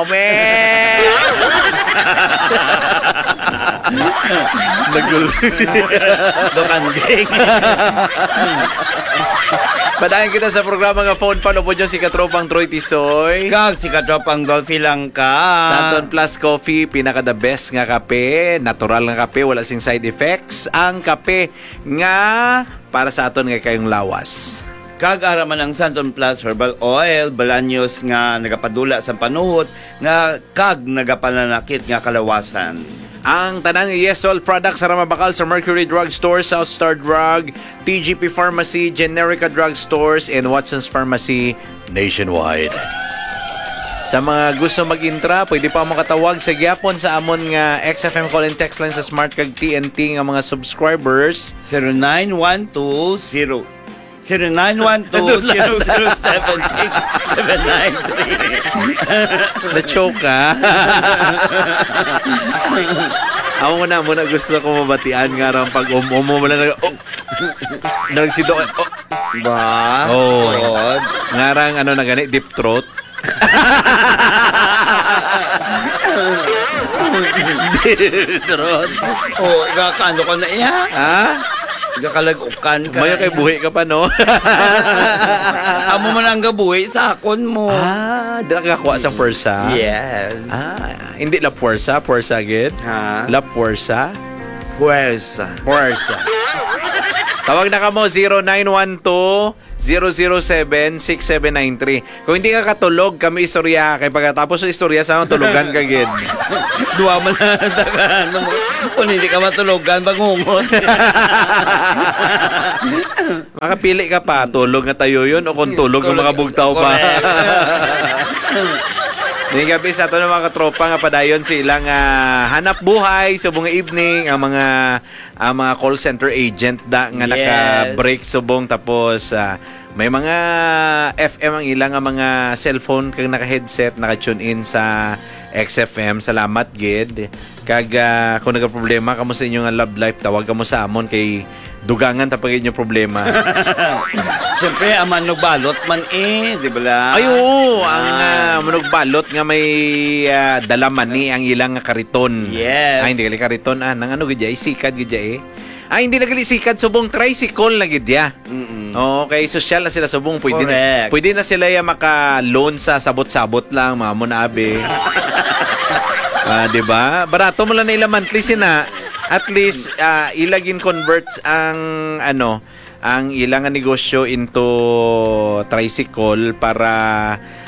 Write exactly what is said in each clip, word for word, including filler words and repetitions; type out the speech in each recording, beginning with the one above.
Meh! Nagul- Dokanding. Padayon kita sa programa nga Phone Pan, upod nyo si Katropang Troy Tisoy. Kag si Katropang Dolphy lang ka. Santon Plus Coffee, pinaka the best nga kape, natural nga kape, wala sing side effects. Ang kape nga para sa aton nga kayong lawas. Kag ara man ang Santon Plus Herbal Oil, balanyos nga nagapadula sa panuhot nga kag nagapananakit nga kalawasan. Ang tanan nga Yesol products sa Ramabakal sa Mercury Drug Store, South Star Drug, T G P Pharmacy, Generica Drug Stores, and Watson's Pharmacy nationwide. Sa mga gusto mag-intra, pwede pa makatawag sa gyapon sa amon nga X F M call and text line sa Smart kag T N T nga mga subscribers. Zero nine one two zero, zero nine one two, zero zero seven six, seven nine three. Na-choke ka. Amo na, amo na gusto ko mabatian nga rang pag um-um mo lang, oh. Nagsido, oh. Ba? Oh. God. Nga rang, ano na gani, deep throat. Deep throat. Oh, gakano ka na iya? Ha? Gakalagukan ka Mayo na kay iya. Buhi ka pa, no? Amo man ang gabuhi sa akon mo. Ah, dira ka kuha sa pwersa? Yes. Ah, hindi la pwersa, pwersa gid? Ha? La pwersa? Pwersa. Pwersa. Tawag na kamo, zero nine one two, zero zero seven, six seven nine three. Kung hindi ka katulog, kami istorya. Kay pagkatapos sa istorya, sa tulugan ka gid. Duwa man na, ano mo. Kung hindi ka matulogan, bangungot. Makapili ka pa, tulog nga tayo yun o kung tulog nga Tulog, mga bugtaw pa. Correct. Ngayong gabi sa ato ng mga katropa nga padayon sa ilang, ah, hanap buhay, subong nga evening, ang mga, ang mga call center agent da, nga Yes. naka-break subong, tapos, ah, may mga F M ang ilang nga mga cellphone kag naka-headset, naka-tune in sa X F M. Salamat gid. Kag, ah, kung nagaproblema kamo sa inyo nga love life, tawag kamo sa amon kay dugangan ta pag inyo problema. Siyempre, ang manugbalot man eh, di ba la? Ay, oo, ang, Ah. ah, manugbalot nga may, ah, dala mani ang ilang nga kariton. Yes. Ay, hindi gali kariton, ah, nang ano gid ya, eh, sikad gid ya, eh. Ay, hindi na gali sikad, subong tricycle na gid ya. Mm-mm. Oo, kay sosyal na sila subong, pwede na, Correct. pwede na sila ya maka-loan sa sabot-sabot lang, mga mo na abi. Ah, di ba? Barato mo lang na ila monthly sina. At least, ah, ila gin-convert ang, ano, ang ila nga negosyo into tricycle para,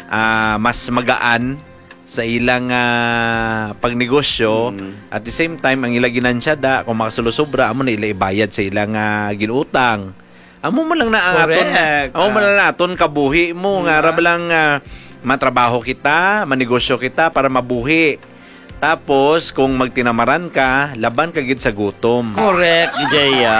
ah, mas magaan sa ilang, ah, pagnegosyo. Mm. At the same time, ang ila ginansya da, kung makasulo-sobra, amo na ila ibayad sa ilang, ah, ginutang. Amo man lang na ang aton, Correct. amo man Ah. lang na aton kabuhi mo, nga Diba? ra ba lang, ah, matrabaho kita, manegosyo kita para mabuhi. Tapos, kung magtinamaran ka, laban ka gid sa gutom. Correct, Jaya.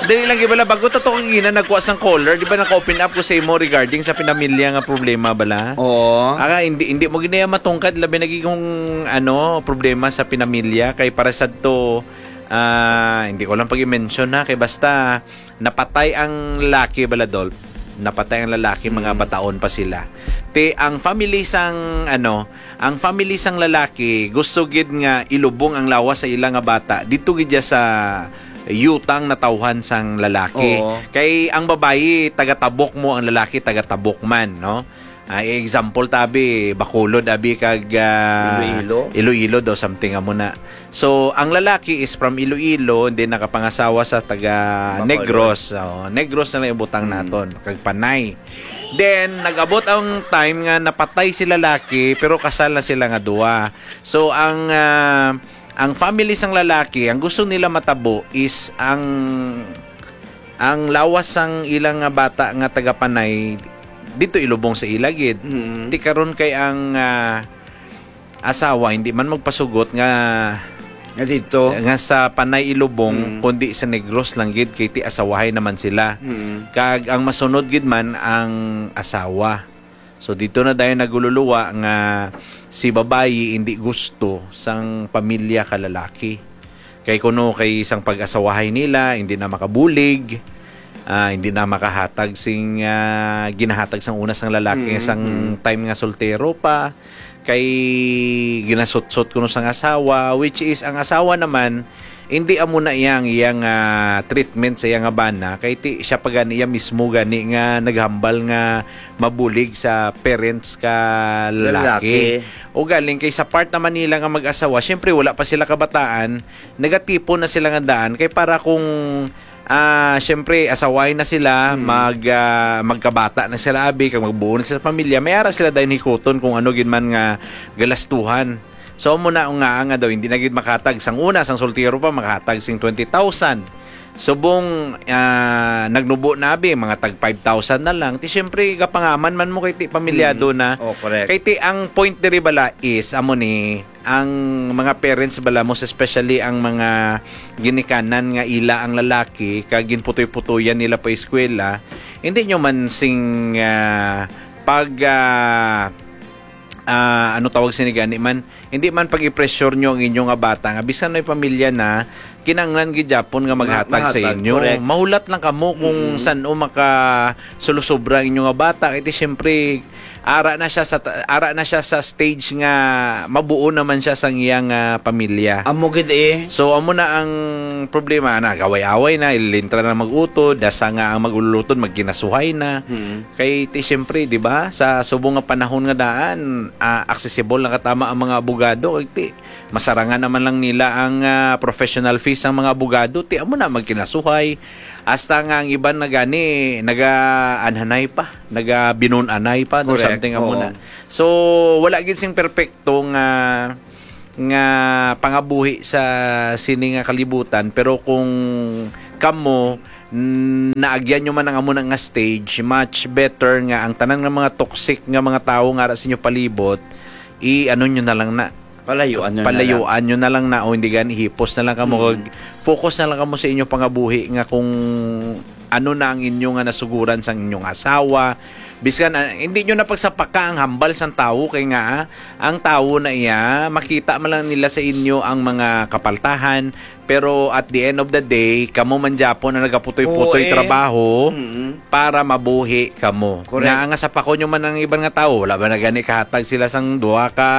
Dali lang, gid bala, bago ta to kagina nagkuha sang caller, di ba naka-open up ko sa imo regarding sa pinamilya nga problema bala? Oo. Aka, hindi, hindi mo ginaya matungkad, labi na gid kung, ano, problema sa pinamilya, kay para sa to, ah, hindi ko lang pag-i-mention na, kay basta napatay ang lalaki, bala, Dolph. Napatay ang lalaki, mga Mm. bataon pa sila. Ti, ang family sang, ano, ang family sang lalaki, gusto gid nga ilubong ang lawas sa ila nga bata. Dito gid ya sa yutang natawhan sang lalaki. Oo. Kay ang babayi, taga Tabok mo, ang lalaki, taga Tabok man, no? Ah, example, tabi, Bacolod, abi, kag, ah, Iloilo? Iloilo daw, something amo na. So, ang lalaki is from Iloilo, and then nakapangasawa sa taga Bacolod. Negros. Oh, Negros na lang ibutang Mm. naton, kag Panay. Then, nag-abot ang time nga napatay si lalaki, pero kasal na sila nga duwa. So, ang, ah, ang family sang lalaki, ang gusto nila matabo is ang, ang lawas sang ilang nga bata nga taga Panay, dito ilubong sa ila gid. Mm. Ti karon kay ang, ah, asawa hindi man magpasugot nga Nga dito? nga sa Panay ilubong, Mm. kundi sa Negros lang gid, kay ti asawahay naman sila. Mm. Kag ang masunod gid man ang asawa. So, dito na dayon nagululuwa nga si babayi hindi gusto sang pamilya ka lalaki. Kay kuno kay sang pag-asawahay nila, hindi na makabulig. ah, hindi na makahatag sing, ah, ginahatag sang una sang lalaki nga Mm, sang mm. time nga soltero pa, kay ginasutsot kuno sang asawa, which is ang asawa naman, hindi amo na iya ang iya nga treatment sa iya nga bana, kay ti, siya pa gani iya mismo gani nga naghambal nga mabulig sa parents ka lalaki. Lalaki. O galing kay sa part naman nila nga mag-asawa, syempre wala pa sila kabataan, nagatipon na sila nga daan kay para kung, ah, syempre asaway na sila, Hmm. mag, ah, magkabata na sila abi, kag magbuo na sila pamilya, may ara sila dayon hikuton kung ano gid man nga galastuhan. So, amo na nga, nga daw, hindi na gid makatag sang una, sang soltero pa, makatag sing twenty thousand. Subong, ah, nagnubo na abi, mga tag five thousand na lang. Ti, syempre, gapangaman man mo kay ti pamilyado Mm. na. Oh, correct. Kay ti, ang point diri bala is, amo ni, ang mga parents bala, most especially ang mga ginikanan nga ila ang lalaki, kag ginputoy-putoyan nila pa eskwela, hindi nyo man sing, ah, pag, ah, ah, ano tawag sini gani man, hindi man pag-i-pressure nyo ang inyo nga bata nga bisan may pamilya na, kinahanglan gid gyapon nga Ma-, maghatag sa maghatag, inyo. Correct. Mahulat lang kamo kung Mm. san-o makasulosobra ang inyo nga bata. Kay ti, siyempre, ara na siya sa ta-, ara na siya sa stage nga mabuo naman siya sang iyang, ah, pamilya. Amo gid eh. So, amo na ang problema, nag-away-away na, ilintra na mag-utod, dasa nga ang mag-ululutod, magkinasuhay na. Mm. Kay ti, siyempre, di ba, sa subong nga panahon nga daan, ah, accessible na katama ang mga abogado. Kay ti, masarangan naman lang nila ang, ah, professional fees sang mga abogado. Ti, amo na, magkinasuhay. Hasta nga ang iban na gani, naga-anhanay pa, naga-binun-anay pa, no, Correct. something amo Oo. na. So, wala gid sing perpekto nga, nga pangabuhi sa sini nga kalibutan. Pero kung kamo, mm, naagyan nyo man ang amo na nga stage, much better nga ang tanan nga mga toxic nga mga tawo nga ara sa inyo palibot, i-ano nyo na lang na. Palayuan nyo na lang. Palayuan nyo na lang na, o hindi gani, hipos na lang kamo, Mm. kag focus na lang kamo sa inyong pangabuhi nga kung ano na ang inyo nga nasuguran sang inyong asawa. Biskan, ah, hindi nyo na pagsapaka ang hambal sang tawo, kay nga, ah, ang tawo na iya, makita man lang nila sa inyo ang mga kapaltahan, pero at the end of the day, kamo man gyapon ang nagaputoy-putoy Oo, eh. trabaho Mm. para mabuhi kamo. Correct. Nga, nga sapakon nyo man ang iban nga tawo, wala ba na gani kahatag sila sang duha ka,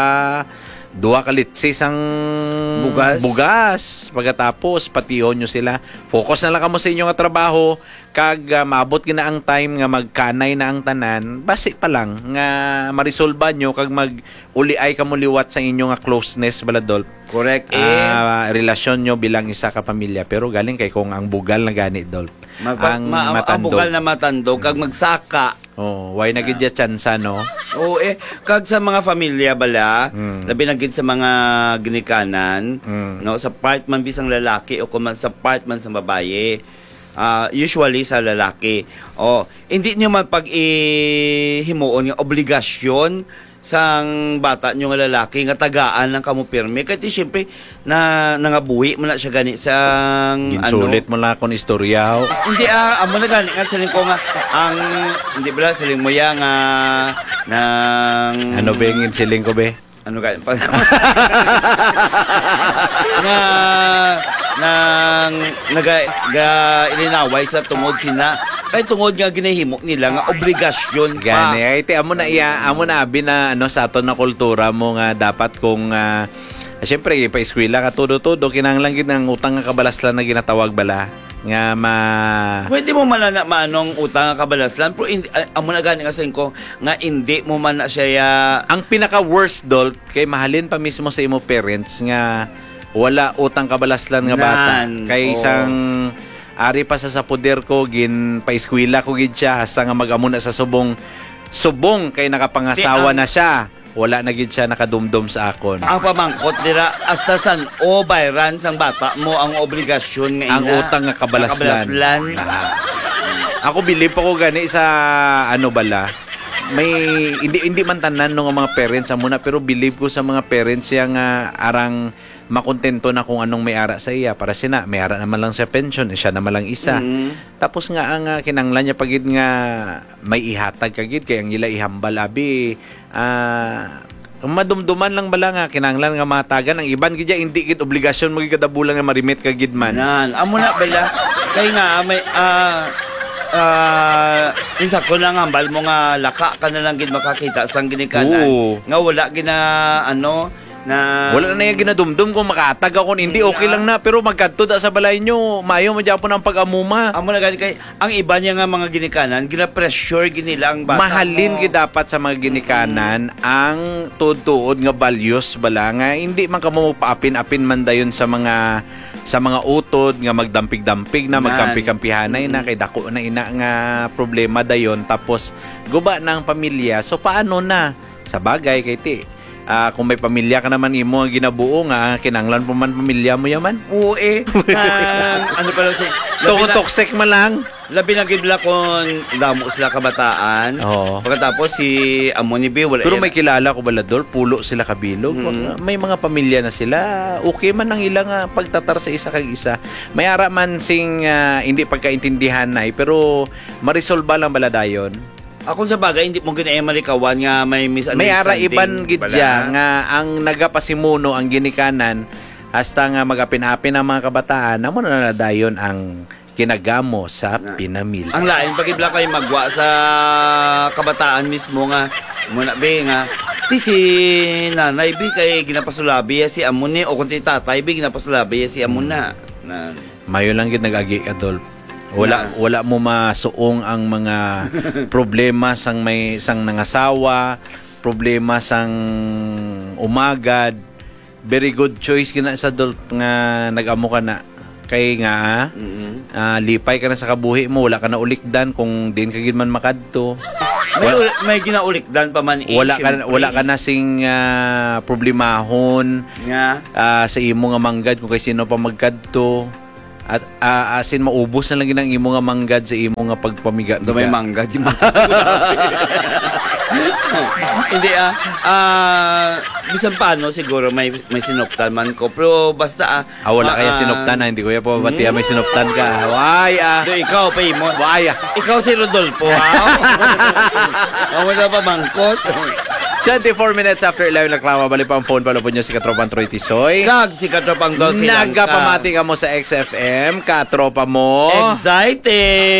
duha ka litsi sang Bugas. bugas? Pagkatapos, patihon nyo sila. Focus na lang kamo sa inyo nga trabaho, kag, ah, maabot gid na ang time nga magkanay na ang tanan, basi pa lang nga marisolba nyo kag mag-uliay kamo liwat sa inyo nga closeness, bala, Dol. Correct, eh. Ah, relasyon nyo bilang isa ka pamilya. Pero galing kay kung ang bugal na gani, Dol, Mapa-, ang ma-, ang matandog. bugal na matandog, kag magsaka. Oh, why na gid Ah. ya tsansa, no? Oo, eh. Kag sa mga familia bala, Mm. labi na gid sa mga ginikanan, Mm. no, sa part man bisang lalaki o kung man sa part man sa babayi, ah, usually sa lalaki. Oh, hindi nyo man pag-ihimuon nga obligasyon sang bata nyo nga lalaki nga tagaan lang kamo pirmi. Kay ti, siyempre, na, nangabuhi man na siya gani sang, ano. Ginsulit mo lang akong istorya, ho. Hindi, ah, amo na gani nga siling ko nga, ang, hindi bala, siling mo ya nga, nang Ano ba yung siling ko, be? Ano gani? Nga, nang, naga, ga, ilinaway sa tungod sina, kay tungod nga ginahimo nila nga obligasyon pa. Gani, ay, ti, amo na iya, amo na abi na, ano, sa aton na kultura mo nga dapat kung, ah, siyempre, pa-eskwela ka, todo-todo, kinahanglan gid ang utang nga kabalaslan na ginatawag bala, nga ma- Pwede mo man na maano ang utang nga kabalaslan, pero hindi, ah, amo na gani nga siling ko, nga hindi mo man na siya ya- Ang pinaka-worst, Dol, kay mahalin pa mismo sa imo parents nga wala utang kabalaslan nga bata. Nan, Kay oo. sang ari pa sa, sa poder ko, ginpaeskwela ko gid siya, hasta nga mag-amo na sa subong, subong kay nakapangasawa Ti, ang na siya. Wala na gid siya nakadumdom sa akon. Ang pamangkot dira, hasta san-o bayran sang bata mo ang obligasyon nga Ang ina, utang nga kabalaslan. nga kabalaslan. Ah. Ako, believe pa ko gani sa, ano bala, may, hindi, hindi man tanan, no, nga mga parents amo na, pero believe ko sa mga parents siya nga arang makontento na kung anong may ara sa iya. Para sina, may ara naman lang siya pension, eh, siya naman lang isa. Mm. Tapos nga, ang, ah, kinanglan niya pa gid nga may ihatag ka gid, kay ang ila ihambal, abi, ah, madumduman lang bala nga kinanglan nga matagan. Ang iban gid, hindi gid obligasyon mo gid kada bulan nga marimit ka gid man. Nan, amo na bala. Kay nga, may, ah, Ah, insakto na nga, hambal mo nga laka ka na lang gid makakita sang ginikanan. Oo. Nga wala gina, ano, na Wala na niya ginadumdum kung makatag ako, hindi, okay lang na. Pero magkadto da sa balay nyo, mayo mo dyan po ng pag-amuma. Amo na gani kay, ang iba niya nga mga ginikanan, gina-pressure gid nila ang bata Mahalin mo. gid dapat sa mga ginikanan ang tuod-tuod nga values bala nga hindi man kamo magpaapin-apin man dayon sa mga sa mga utod nga magdampig-dampig na, Nan. magkampi-kampihanay na, Mm. kay dako na ina nga problema dayon, tapos guba na ang pamilya. So, paano na? Sa bagay, kay ti, ah, kung may pamilya ka naman imo nga ginabuo nga, kinanglan pa man pamilya mo yaman. Oo, eh. Ang, ano pala si, Tungod labi na, toxic man lang. labi na gid la kung damo sila kabataan. Oo. Pagkatapos si amo ni Bi, wala Pero yan. may kilala ko bala, Dol, pulo sila kabilog. Mm. May mga pamilya na sila. Okay man ang ilang, ah, pagtatar sa isa kag isa. May ara man sing, ah, hindi pagkaintindihan na, eh, pero maresolba lang bala dayon. Ako sa bagay, hindi mo ginae malikawan nga may May ara misunderstanding iban gid bala. dya nga ang nagapasimuno ang ginikanan hasta nga magapin-apin ang mga kabataan, amo na na dayon ang kinagamo sa Na. pinamilya. Ang lain pa gid bala kay magwa sa kabataan mismo nga, muna, be, nga, "Ti, si nanay, be, kay ginapasulabi ya si amo ni, o kung si tatay, be, ginapasulabi ya si amo Hmm. na." Na. Mayo lang gid nag-agi ka, Dol. Wala, Na. wala mo masuong ang mga problema sang may, sang nangasawa, problema sang umagad. Very good choice gina sa, Dol, nga nag-amo ka na. Kay nga, Mm-mm. ah, lipay ka na sa kabuhi mo, wala ka na ulikdan kung din ka gid man makadto. May Wala, ul-, may ginaulikdan pa man, eh, wala ka, siyempre. wala ka na sing, ah, problemahon Nga. ah, sa imo nga manggad kung kay sino pa magkadto. At, ah, asin maubos na lang gid ang imo nga manggad sa imo nga pagpamiga. Ito may manggad, yung manggad. Hindi, ah. Ah, bisan paano, siguro may, may sinuptan man ko. Pero basta, ah, Ah, wala kaya ah, sinuptan, ah. Hindi ko ya pa mabatiya may sinuptan ka. Why, ah? Do, ikaw, pa imo. Why, ah? Ikaw si Rodolfo, ha? Amo na pa mangkot. Twenty-four minutes after eleven, reklama, bali pa ang phone, palupod nyo si Katropang Troy Tisoy. Kag si Katropang Dolphy Langka. Nagapamati ka mo sa X F M, katropa mo. Exciting!